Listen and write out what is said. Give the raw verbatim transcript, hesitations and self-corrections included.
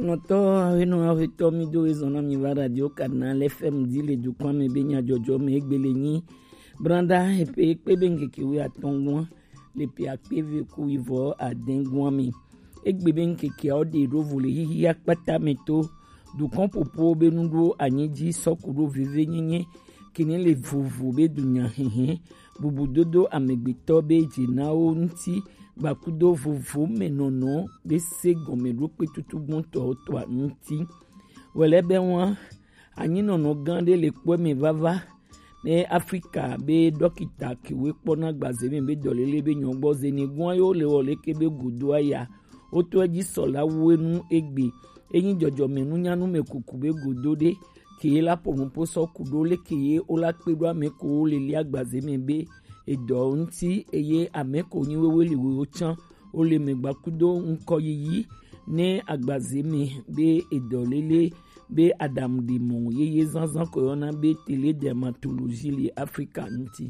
Nɔtɔ awenɔ avetɔ mi do ezɔn na mi va radio Canal F M di le dukɔn me be nyadzɔdzɔ me egbele nyi. Branda epe ekpe be nkeke wi atɔngua le pe akpe ve ku ivɔ adengua me. Egbe be nkeke awo de ɖo vo le hihi akpata me to dukɔn popo be nu ɖo anyi ji sɔku ɖo veve nyenye kene le vovo be dunya hehe bubu dodo amegbetɔ be dzenawo ŋuti gbakudo vovo me nɔnɔ be se gɔme ɖo kpe tutu gbɔntɔ toa ŋuti. Wele be wa anyinɔnɔ gã ɖe le kpɔe me vava ne Afrika be dɔkita kewe kpɔna gbaze me be dɔlele be nyɔgbɔ zeni gua yo le wɔ leke be godo aya woto edzi sɔla wu enu egbe enyi dzɔdzɔme nunyanu me kuku be godo ɖe ke la ƒo nuƒo sɔ ku ɖo leke ye wola kpe ɖo ame ko wo le lia gbaze me be edɔ ŋuti eye ame ko nyi wewe li wo tsã wo le megba kudo ŋkɔ yiyi ne agbaze me be edɔ lele be aɖaŋuɖemɔ yeye zazã ko yɔna be tele dermatologie le Afrika ŋuti.